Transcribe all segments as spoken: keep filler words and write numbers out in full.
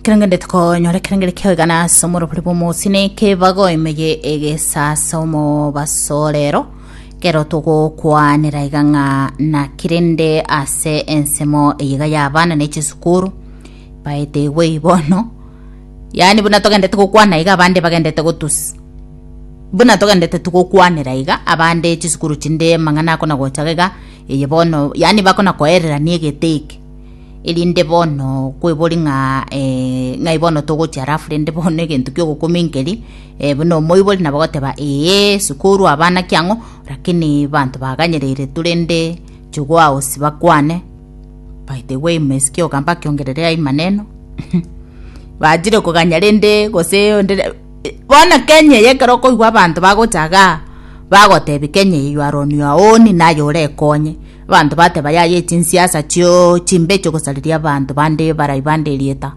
Kerengende tukonyora kerengere kioigana ase omorobori bw'omosine kebago emeye egesasa omobasorero kero togokwanera iga ng'a nakirende ase ensemo eyiga ya abana ne chisukuru baete igwe bono yaani buna togendete gokwana iga abande bagendete gotusi buna togendete tugokwanera iga abande chisukuru chinde mang'ana akona gochaga iga eye bono yaani bakona koererania egete eke erinde bono kwebori ng'a eh, ng'ai bono togochia alafu rende bono egento kia ogokominkeri eh, buna omoibori nabo goteba ee sukuru abana kiang'o lakini banto baganyereire turende chugwao bakwane. By the way, mmesikia ogamba akiongererea ai maneno bachire koganya rende gose onde bono Kenya eye ekero okoigwa abanto bagochaga bagotebi Kenya eye you are on your own naye orekonye abanto bateba yaye chinsiasa chio chimbe chigosareria abanto bande barai bande erieta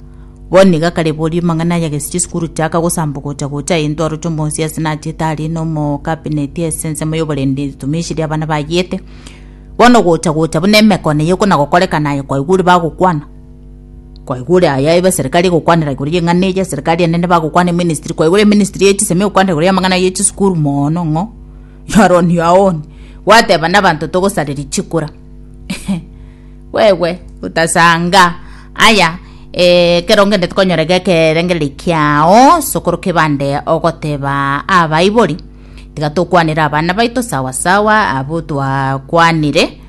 bono iga kare bori mang'ana aya gese chisukuru chiaka gosamba gocha gocha intwe aroche omosiasa nachete aria na omo cabinet ase ensemo ya oborendi tumishiri abana bayete bono gocha gocha buna emekono eye ekona gokorekana aye kwaigure bagokwana kwaigure aya ebe serikali egokwanera igoro ya eng'ana eye serikali enene bagokwana eministry kwaigure eministry ya chisemi egokwanera igoro ya amang'ana ya chisukuru mono ng'o you are on your own gwateba na abanto togosareria chikura wewe utasanga aya eh, kero ngende tukonyora gekerengeri kiao sokoro kebande ogoteba abaibori tiga tokwanera abana baito sawa sawa abo twakwanire.